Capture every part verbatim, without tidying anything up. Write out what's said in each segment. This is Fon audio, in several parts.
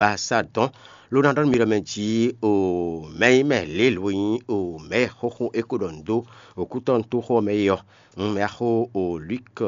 Baasa dɔn, ló ná ɖɔ nú mi ɖɔ mɛ jí o mɛ nyí mɛ lě lo nyí o mɛ xóxó é ko ɖɔ nǔ dó òkútɔ́ nú tóxó ɔ́ mɛ é ɔ́, un mɛ axó o Luke,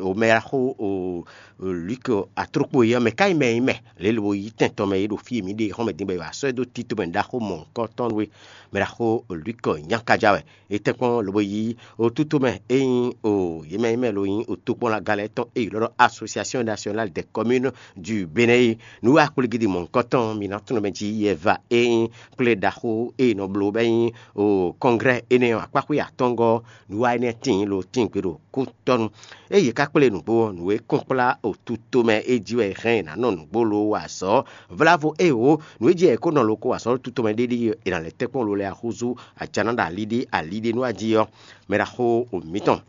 o mɛ axó o Luke atrokpo é ɔ́, mɛ ka nyí mɛ nyí mɛ lě lo yí tɛn tɔn mɛ é ɖo fí e mǐ ɖe xɔ́mɛ dín bɔ è wǎ sɔ́ ɛ dó tito mɛ ɖaxó mɔ̌hunkɔtɔn nú é, mɛ ɖaxó o Luke nyakaja wɛ. È tɛ́nkpɔ́n lobo yí otutomɛ e nyí o yě mɛ e mɛ lo nyí otokpɔ́nlaga lɛ́ɛ tɔn e ylɔ́ ɖɔ Association Nationale des Communes du Bénin é. Nǔ wa kplígídi mɔ̌hunkɔtɔn mǐ ná tunwun mɛ jí yɛva e nyí kplé ɖaxó e è nɔ bló bɔ é nyí o kɔnglɛ́ énɛ́ ɔ́ akpáxwé atɔ́ngɔ́ nǔ wa énɛ́ tíin lo tíngbe ɖo kútɔ́nu. Ée yě ká kplé nǔgbó ɔ́, nǔ e kún kplá otutomɛ é jí wɛ è hɛn è nǎ nɔ nǔgbó lo wa azɔ̌. Vlávo ée wǒ, nǔ e jí wɛ è kó nɔ lo ko wa azɔ̌ otutomɛ ɖé ɖíe è nǎ lɛ́ tɛ́nkpɔ́n lo lɛ́ɛ axúzú ajaná ɖo ali ɖé ali ɖé nú ají ɔ́, mɛ ɖaxó mǐtɔn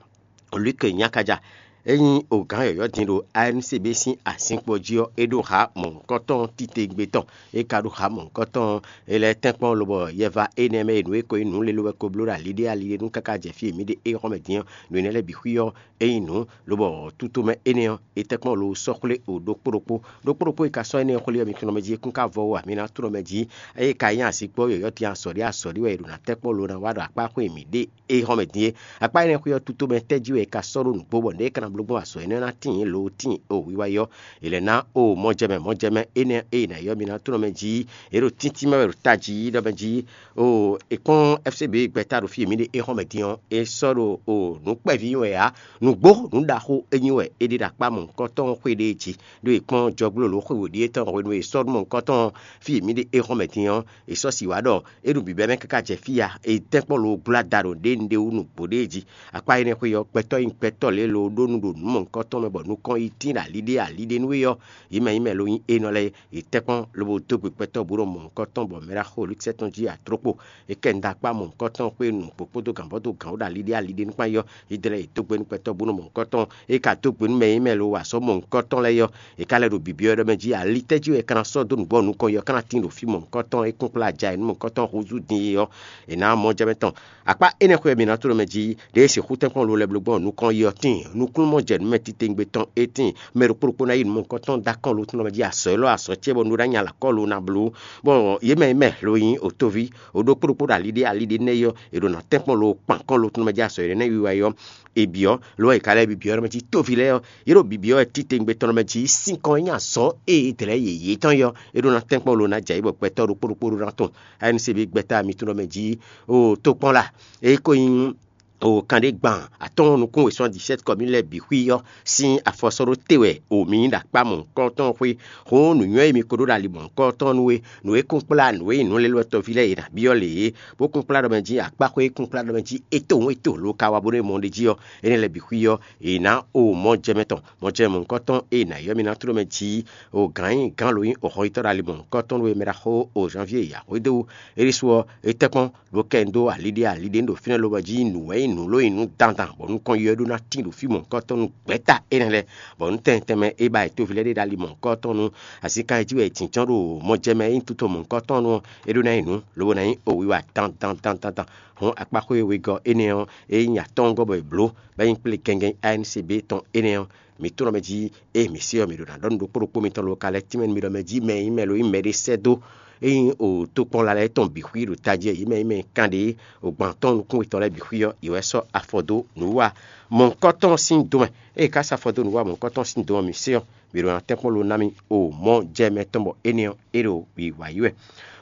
Luke Nyakaja, é nyí ogǎn yɔ̌yɔ́ din ɖo A N C B sín azinkpo jí ɔ́, é ɖó ha mɔ̌hunkɔtɔn titewungbe tɔn. É ka ɖó ha mɔ̌hunkɔtɔn ɔ́, é lɛ́ tɛ́nkpɔ́n lobɔ yɛva énɛ́ mɛ e nǔ e ko nyí nǔ lě lo wɛ ko bló ɖo ali ɖé ali ɖé nú káká jɛ fí e mǐ ɖe é xɔ́mɛ din ɔ́, nǔ énɛ́ lɛ́ɛ bǐ xwí ɔ́, é nyí nǔ lobɔ tutomɛ énɛ́ ɔ́, é tɛ́nkpɔ́n lo sɔ́ xwlé o ɖokpó ɖokpó. Ɖokpó ɖokpó e ka sɔ́ énɛ́ xwlé ɔ́, mi tunwun mɛ jí é kún ka vɔ ó ǎ, mi ná tunwun mɛ jí. Ée ka nyí azinkpo ɔ́ yɔ̌yɔ́ din azɔ̌ ɖé azɔ̌ ɖé wɛ è ɖo ná tɛ́nkpɔ́n lo ná wa ɖo akpá xwé mǐ ɖe é xɔ́mɛ din é. Akpá énɛ́ xwé ɔ́ tutomɛ tɛ́ jí wɛ è ka sɔ́ ɖó nǔgbó bɔ nǔ e è ka ná bló gbɔn azɔ̌ énɛ́ ɔ́ ná tíin lo tíin o wiwa é ɔ́, è lɛ̌ ná o mɔjɛmɛ mɔjɛmɛ énɛ́ e è nǎ ylɔ́ mi ná tunwun mɛ jí. È ɖo tíntín mɛ wɛ ɖo tají ɖɔ mɛ jí o è kpɔ́n F C B gbɛ́ta ɖo fí e mǐ ɖe é xɔ́mɛ din ɔ́, è sɔ́ ɖo o nǔ kpɛví ɔ́ wɛ ǎ. Nǔgbó nǔ ɖaxó é nyí wɛ è ɖe ɖo akpá mɔ̌hunkɔtɔn xwé ɖé jí, ɖó è kpɔ́n jɔgblo lǒ xwe wǒ ɖíe tɔn hwenu e è sɔ́ ɖó mɔ̌hunkɔtɔn fí e mǐ ɖe é xɔ́mɛ din ɔ́, è sɔ́ si wǎ ɖɔ é ɖo bǐbɛ́ mɛ káká jɛ fí ya, è tɛ́nkpɔ́n lo gbla da ɖo ɖě un ɖe wú nǔgbó ɖé jí. Akpá énɛ́ xwé ɔ́, gbɛtɔ́ nyi gbɛtɔ́ lě lo ɖó nu ɖo nǔ mɔ̌hunkɔtɔn mɛ bɔ nukɔn yi tín ɖo ali ɖé ali ɖé nú é ɔ́, yě mɛ nyí mɛ lo nyí énɔ lɛ́ɛ, yě tɛ́nkpɔ́n lobo dó gbe gbɛtɔ́ bǔ ɖo mɔ̌hunkɔtɔn bɔ mɛ ɖaxó Lukisɛ́ tɔn jí atrokpo. É kɛ un dó akpá mɔ̌hunkɔtɔn xwé nu kpokpódó gǎnbɔ́dó gǎn ɖo ali ɖé ali ɖé nú kpán yɔ, yě dlɛ́ yě dó gbe nú gbɛtɔ́ bú nú mɔ̌hunkɔtɔn. É ka dó gbe nú mɛ e nyí mɛ lo wa azɔ̌ mɔ̌hunkɔtɔn lɛ́ɛ ɔ́, è ka lɛ́ ɖo bibyɔ́ ɖɔ mɛ jí ali tɛ́ jí wɛ è ka ná sɔ́ dó nǔgbó ɔ́ nukɔn yɔ ká ná tín ɖo fí mɔ̌hunkɔtɔn é kún kplá aja e nú mɔ̌hunkɔtɔn húzú din é ɔ́, è nǎ mɔ jɛ mɛ tɔn. Akpá énɛ́ xwé ɔ́ mi ná tló mɛ jí, ɖěe sixú tɛ́nkpɔ́n lo lɛ́ bló gbɔn nukɔn yi ɔ́ tíin, nukúnnú mɔ jɛ nǔ mɛ titewungbe tɔn é tíin, mɛ ɖokpó ɖokpó ná yi nǔ mɔ̌hunkɔtɔn dó akɔ́n lo tɔn mɛ jí azɔ̌ élɔ́ azɔ̌ ce bɔ nu ɖó nya lɔ akɔ́ lo ná bló. Bɔ yě mɛ e mɛ lo nyí otoví, o ɖokpó ɖokpó ɖo ali ɖé ali ɖé nɛ́ yi ɔ́, è ɖo nǎ tɛ́nkpɔ́n lo kpan kɔ́n lo tɔn mɛ jí azɔ̌ énɛ́ wiwa yi ɔ́, è byɔ́, lo ɔ́ è ka lɛ́ bibyɔ́ ɖɔ mɛ jí tóví lɛ́ɛ ɔ́, yě ɖo bibyɔ́ wɛ titewungbe tɔn ɖɔ mɛ jí sín kɔn e nyí azɔ̌ e è dlɛ̌ yěyé tɔn yi ɔ́, é ɖó ná tɛ́nkpɔ́n lo ná jɛ ayǐ bɔ gbɛtɔ́ ɖokpó ɖokpó ɖó ná tɔn. A N C B gbɛtɔ́ mitɔn ɖɔ mɛ jí o tokpɔ́n la, é ko nyí o kanɖé gban atɔ́ɔ́n nukún wěsɔ́n dix-sept kɔmí lɛ́ɛ bǐ xwí ɔ́ sín afɔ sɔ́ ɖó te wɛ o mi nyí ɖo akpá mɔ̌hunkɔtɔn xwé. Hǔn nǔnywɛ́ e mi ko ɖó ɖo ali mɔ̌hunkɔtɔn nú é, nǔ e kún kplá nǔ e nyí nǔlélɔ́tɔ́ví lɛ́ɛ è nǎ byɔ́ lě é, bó kún kplá ɖɔ mɛ jí akpáxwé e kún kplá ɖɔ mɛ jí étowun éto lo ka wa bónú é mɔ ɖ'é jí ɔ́, énɛ́ lɛ́ɛ bǐ xwí ɔ́, è nǎ o mɔ jɛ mɛ tɔn, mɔ jɛ mɔ̌hunkɔtɔn e è nǎ ylɔ́ mi ná tló mɛ jí o gǎn nyí gǎn lo nyí o xɔyítɔ́ ɖo ali mɔ̌hunkɔtɔn nú é mɛ ɖaxó o Janvier Yahweh dó wú. É ɖésú ɔ́, é tɛ́nkpɔ́n ɖó kɛ un dó ali ɖé ali ɖé un ɖo fínɛ́ lobɔ jí nǔ wɛ nyí nǔ ló nyí nǔ dandan bɔ nukɔn yɔ ɖó ná tín ɖo fí mɔ̌hunkɔtɔn nú gbɛ̌ta énɛ́ lɛ́ɛ, bɔ nú tɛnmɛ tɛnmɛ é ba yi tóví lɛ́ɛ ɖé ɖo ali mɔ̌hunkɔtɔn nú azinkan e jí wɛ è tǐnjɔ́n ɖo mɔjɛmɛ e nyí tuto mɔ̌hunkɔtɔn nú ɔ́, é ɖó ná nyí nǔ lobo ná nyí owiwa dandan dandan dan. Hɔn akpáxwé wegɔ́ énɛ́ ɔ́, é nyí atɔ́ɔ́ngɔ́ bɔ è blǒ, bɔ é nyí kplé gɛngɛn A N C B tɔn énɛ́ ɔ́, mǐ tunɔ mɛ jí ée mǐ se ɔ́, mǐ ɖo ná ɖɔ nú ɖokpó ɖokpó mitɔn lo ka lɛ́ tínmɛ nú mi ɖɔ mɛ jí mɛ e nyí mɛ lo nyí mɛɖé sɛ́ dó é nyí o tokpɔnla lɛ́ɛ tɔn bǐ xwí ɖo tají e yě mɛ nyí mɛ kanɖé o gban tɔn nukúnwetɔ́ lɛ́ɛ bǐ xwí ɔ́, yě wɛ sɔ́ afɔ dó nǔwa mɔ̌hunkɔtɔn sín do mɛ. Ée è ka sɔ́ afɔ dó nǔwa mɔ̌hunkɔtɔn sín do ɔ́, mǐ se ɔ́, mǐ ɖo ná tɛ́nkpɔ́n lo ná mì o mɔ̌ jɛ mɛ tɔn bɔ énɛ́ ɔ́, é ɖo wǐwá yi wɛ.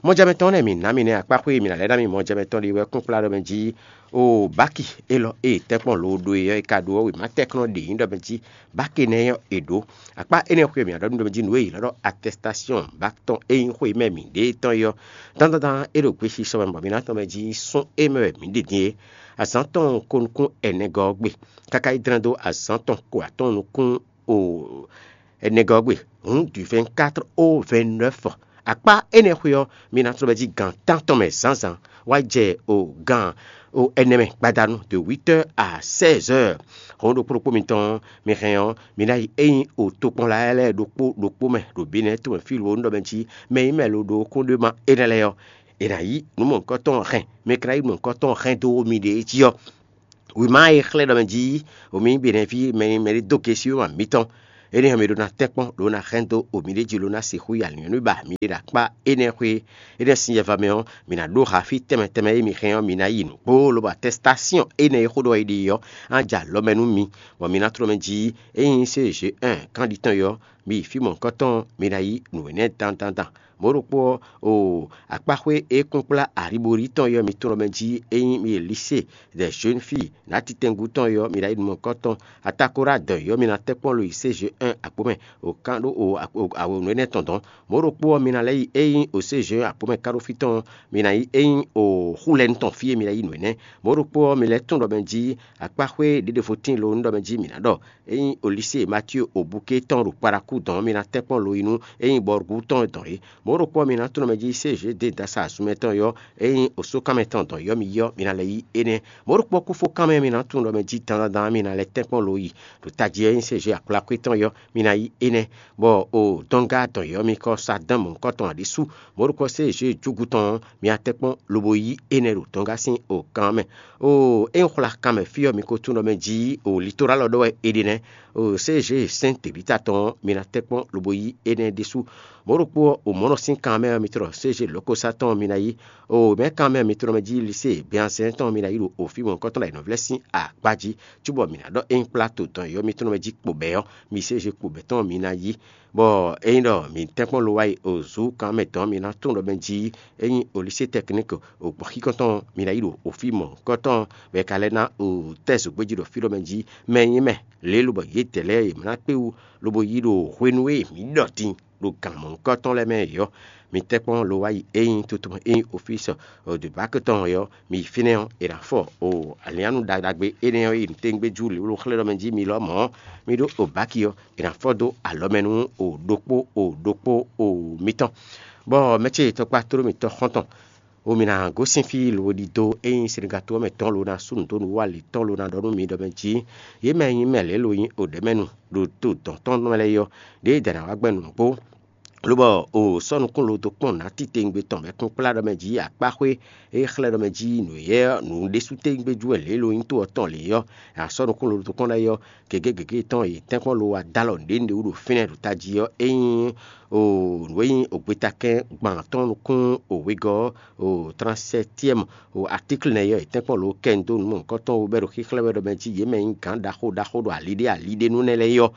Mɔjɛmɛ tɔn nɛ́ mǐ ná mi nɛ́ akpáxwé e mǐ ná lɛ́ ná mi mɔjɛmɛ tɔn ɖe wɛ kún kplá ɖɔ mɛ jí o báki élɔ́ e tɛ́nkpɔ́n lo ɖó e ɔ́, è ka ɖó ɔ́ wěma tɛ́nkplɔ́n ɖě nyí ɖɔ mɛ jí báki nɛ́ ɔ́ è ɖǒ. Akpá énɛ́ xwé mǐ ná ɖɔ nú ɖɔ mɛ jí nǔ e è ylɔ́ ɖɔ atɛstásyɔn báki tɔn e nyí xwé mɛ mǐ ɖe tɔn é ɔ́, dandan dan é ɖo gbesisɔ mɛ bɔ mǐ ná tɔn mɛ jí sún é mɛ wɛ mǐ ɖe din é. Azǎn tɔn ko nukún ɛnɛgɔ́ ɔ́ gbe, káká yi dlɛ́n dó azǎn tɔn ko atɔ́ɔ́n nukún o ɛnɛgɔ́ gbe, hǔn du vingt-quatre au vingt-neuf. Akpá énɛ́ xwé ɔ́, mi ná tló bɛ́ jí gan tántɔn mɛ zǎnzǎn wá jɛ o gan o ɛnɛ mɛ gbadanu de huit heures à seize heures. Hɔn ɖokpó ɖokpó mitɔn mi hɛn ɔ́, mi ná yi ényí o tokpɔnla lɛ́ɛ ɖokpó ɖokpó mɛ ɖo Benɛ́ɛ tomɛ fí lo ɖɔ mɛ jí mɛ nyí mɛ lo ɖo kúnɖéma énɛ́ lɛ́ɛ ɔ́, è nǎ yí nǔ mɔ̌hunkɔtɔn hɛn, mi ka ná yí nǔ mɔ̌hunkɔtɔn hɛn dó miɖée jí ɔ́, wěma e xlɛ́ ɖɔ mɛ jí wǒ mì nyí Benɛ́ví mɛ mɛɖé dó gesi wěma mǐtɔn, Énɛ́ ɔ́, mi ɖó ná tɛ́nkpɔ́n, lǒ ná hɛn dó o miɖée jí, ló ná sixú yi alǐnnyɔ́núba mi ɖe ɖo akpá énɛ́ xwé. Énɛ́ sín yɛva mɛ ɔ́, mi ná ɖó ha fí tɛnmɛ tɛnmɛ e mi hɛn ɔ́, mi ná yi nǔgbó, lobo atɛ́stásyɔn énɛ́ e xó ɖɔ è ɖe ɔ́, á jɛ alɔ mɛ nú mi, bɔ mi ná tló mɛ jí. Ényí sé J un kán ɖi tɔn ɔ́, mi yi fí mɔ̌hunkɔtɔn, mi ná yí nǔ énɛ́ dandan dan. Mɔ̌ ɖokpó ɔ́, o akpáxwé e kún kplá Ariborí tɔn ɔ́, mi tló mɛ jí. Ényí mi yi Lisée des Jeunes Filles nǎ titɛngú tɔn ɔ́, mi ná yi nǔ mɔ̌hunkɔtɔn. Atakora dɔn yɔ́ mi ná tɛ́nkpɔ́n lo yi C G un akpo mɛ, o kán ɖó o awonu énɛ́ tɔn dɔn. Mɔ̌ ɖokpó ɔ́, mi ná lɛ́ yi ényí o C G un akpo mɛ ká ɖó fí tɔn ɔ́, mi ná yi ényí o xú lɛ́ɛ tɔn fí e mi ná yi nǔ énɛ́. Mɔ̌ ɖokpó ɔ́, mi lɛ́ tunwun ɖɔ mɛ jí akpáxwé ɖěɖevo tíin lo nú ɖɔ mɛ jí mǐ ná ɖɔ. Ényí o lisée Matío o buké tɔn ɖo Parakú dɔn ɔ́, mi ná tɛ́nkpɔ́n lo yi nú ényí bɔrugú tɔn dɔn é. Mɔ̌ ɖokpó ɔ́, mi ná tunwun ɖɔ mɛ jí C G dé dasa azunmɛ tɔn yɔ́, ényí o sókanmɛ tɔn dɔn yɔ́ mi yɔ́, mi ná lɛ́ yí énɛ́. Mɔ̌ ɖokpó kúfokánmɛ mi ná tunwun ɖɔ mɛ jí dandandan mi ná lɛ́ tɛ́nkpɔ́n lo yi. Ɖo tají ɔ́, ényí C G akplákwé tɔn yɔ́, mi ná yí énɛ́, bɔ o dɔnga dɔn yɔ́ mi kɔ sa dán mɔ̌hunkɔtɔn ǎ ɖésú. Mɔ̌ ɖokpó ɔ́, C G júgu tɔn ɔ́, mi ná tɛ́nkpɔ́n lobo yí énɛ́ ɖo dɔnga sín o kan mɛ. Oo, é nyí xwla kan mɛ fí ɔ́, mi ko tunwun ɖɔ mɛ jí o litorálɔ ɖɔ wɛ è ɖe nɛ́. Oo, C G sɛ́n tebǐta tɔn ɔ́, mi ná tɛ́nkpɔ́n lobo yí énɛ́ ɖésú. Mɔ̌ ɖokpó ɔ́, o mɔ̌ nɔ sín kan mɛ ɔ́, mi tlɔ C G lɔ̌kosá tɔn ɔ́, mi ná yí. Oo, mɛ̌ kan mɛ ɔ́, mi tlɔ mɛ jí lisée Beazɛ́n tɔn ɔ́, mi ná yí ɖo ofí mɔ̌hunkɔtɔn ɖo ayǐnɔvlɛ́ sín akpá jí, cóbɔ mǐ ná ɖɔ ényí kplá to dɔn yɔ́ mi tlɔ mɛ jí kpo bɛ̌ ɔ́, mi C G kpo bɛ̌ tɔn ɔ́, mi ná yí. Bɔ ényí ɖɔ mǐ tɛ́nkpɔ́n lo wá yi o zǔ kan mɛ dɔn, mi ná tunwun ɖɔ mɛ jí ényí o lisée tɛkník o gbɔ̌xíkɔ́ntɔn ɔ́, mi ná yi ɖo ofí mɔ̌hunkɔtɔn bɔ è ka lɛ́ ná o tɛ́ zǒgbéjí ɖo fí ɖɔ mɛ jí mɛ nyí mɛ lě lobɔ yědɛɛ lɛ́ɛ yě ná kpé wú, lobo yí ɖo hwenu e mǐ ɖɔ din ɖo gǎn mɔ̌hunkɔtɔn lɛ́ɛ mɛ é ɔ́, mi tɛ́nkpɔ́n lo wá yi ényí tuntun ényí ofísɔ ɖo bǎkɛ tɔn ɔ́, mi yi fínɛ́ ɔ́, è nǎ fɔ o alǐnnyánú ɖaɖagbe énɛ́ ɔ́ yi nǔtɛ́ngbéjú lě ló xlɛ́ ɖɔ mɛ jí mi lɔmɔ̌ ɔ́, mi ɖó o bǎki ɔ́, è nǎ fɔ dó alɔ mɛ nú o ɖokpó o ɖokpó o mitɔn. Bɔ mɛ ce tɔkpá tló mitɔn xɔ́ntɔn, o mi ná gosín fí lo ɖidó ényí Senegato ɔ́ mɛ tɔn lo ná sú nǔ dó nǔ wa lě tɔn lo ná ɖɔ nú mi ɖɔ mɛ jí yě mɛ e nyí mɛ lě lo nyí o ɖɛ̌ mɛ nu ɖo to dɔ̌n tɔn mɛ lɛ́ɛ ɔ́, ɖěe è dǎ ná wá gbɛn nǔgbó. Lobɔ o sɔ́ nukún lo dó kpɔ́n nǎ titewungbe tɔn bɔ é kún kplá ɖɔ mɛ jí akpáxwé e xlɛ́ ɖɔ mɛ jí nǔ éyɛ́ nǔ ɖésú tewungbe jú wɛ lě lo nyí to ɔ́ tɔn lě ɔ́, a sɔ́ nukún lo dó kpɔ́n lɛ́ɛ ɔ́, gěgé gěgé tɔn yě tɛ́nkpɔ́n lo wá dó alɔ nǔɖé nǔɖé wú ɖo fínɛ́ ɖo tají ɔ́, é nyí o nǔ e nyí ogbetakɛ́n gban tɔn nukún o wegɔ́ o transɛtiɛmu o atíkli nɛ́ ɔ́, yě tɛ́nkpɔ́n lo kɛ nyi dó nǔ mɔ̌hunkɔtɔn wú bɔ é ɖo xíxlɛ́ wɛ ɖɔ mɛ jí yě mɛ nyí gǎn ɖaxó ɖaxó ɖo aliɖé aliɖé nú nɛ́ lɛ́ɛ é ɔ́,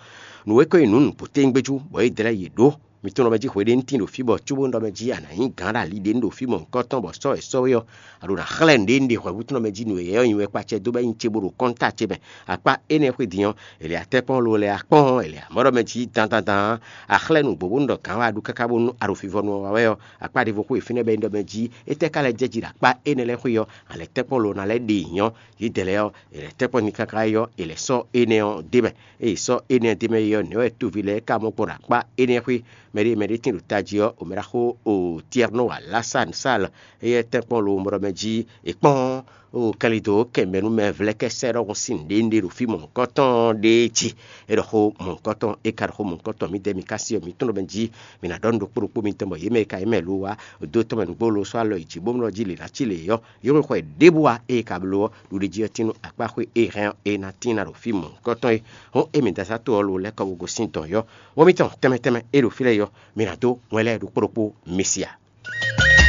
nǔ e ko nyí nǔ nǔbǔ tewungbe jú bɔ é dlɛ́ yě ɖó. Mi tunwun ɖɔ mɛ jí hweɖénu tíin ɖo fí bɔ cóbónú ɖɔ mɛ jí a nǎ nyí gǎn ɖo ali ɖě nu ɖo fí mɔ̌hunkɔtɔn bɔ sɔ́ e sɔ́ we ɔ́, a ɖǒ ná xlɛ́ nǔɖé un ɖe hwɛ̌ hú tunwun ɖɔ mɛ jí nǔ e yɛ ɔ́ nyi wɛ kpacɛ dó bɔ é nyí ce bó ɖo kɔ́nta ce mɛ. Akpá énɛ́ xwé din ɔ́, è lɛ atɛ́kpɔ́n lo lɛ akpɔ́n ɔ́, è lɛ amɔ̌ ɖɔ mɛ jí dandandan. A xlɛ́ nǔgbó bónú ɖɔ gǎn wɛ a ɖu káká bónú a ɖo fivɔnu ɔ́ wa wɛ ɔ́, akpá ɖěvo xwé e fínɛ́ bɔ é nyí ɖɔ mɛ jí é tɛ́ ka lɛ́ jɛ jí ɖo akpá énɛ́ lɛ́ɛ xwé ɔ́, a lɛ tɛ́kpɔ́n lo ná lɛ́ ɖe nyɔ́. Yědɛɛ lɛ́ɛ ɔ́, è lɛ tɛ́kpɔ́n n'i káká é ɔ́, è lɛ sɔ́ énɛ́ ɔ́ d'é mɛ. Ée sɔ́ énɛ́ d'é mɛ é ɔ́, nɛ̌ wɛ toví lɛ́ɛ ka mɔ gbɔn ɖo akpá énɛ́ xwé? Mɛɖé mɛɖé tíin ɖo tají ɔ́, omɛɖaxó o Tiɛrnó Alasán Sál, éyɛ́ tɛ́nkpɔ́n lo mɔɖɔ mɛ jí è kpɔ́n o kɛlidǒ kɛ mɛ nú mɛ vlɛ́kɛ́sɛ́ ɖɔhun sín nǔɖé nǔɖé ɖo fí mɔ̌hunkɔtɔn ɖéé jí. É ɖɔ xó mɔ̌hunkɔtɔn, é ka ɖɔ xó mɔ̌hunkɔtɔn, mǐdɛɛ mi ka sí ɔ́, mi tunwun ɖɔ mɛ jí mi ná ɖɔ nǔ ɖokpó ɖokpó mitɔn bɔ yě mɛ e ka yě mɛ lo wá dó tɔn mɛ nǔgbó lo sɔ́ alɔ yi jǐ bó mlɔ́ jí lě ná cí lě ɔ́, yě xwe xwɛ ɖěbǔ wá ée ka bló ɔ́, ɖuɖéjí ɔ́ tín nú akpáxwé e hɛn ɔ́, é ná tín ná ɖo fí mɔ̌hunkɔtɔn é. Hɔn émí dasá to ɔ́ lo lɛ́ kɔ wú gosín dɔ̌n yɔ́. Wɔ̌mítɔn tɛnmɛ tɛnmɛ e ɖo fí lɛ́ɛ yɔ́, mi ná dó wɛn lɛ́ɛ ɖokpó ɖokpó mi si a?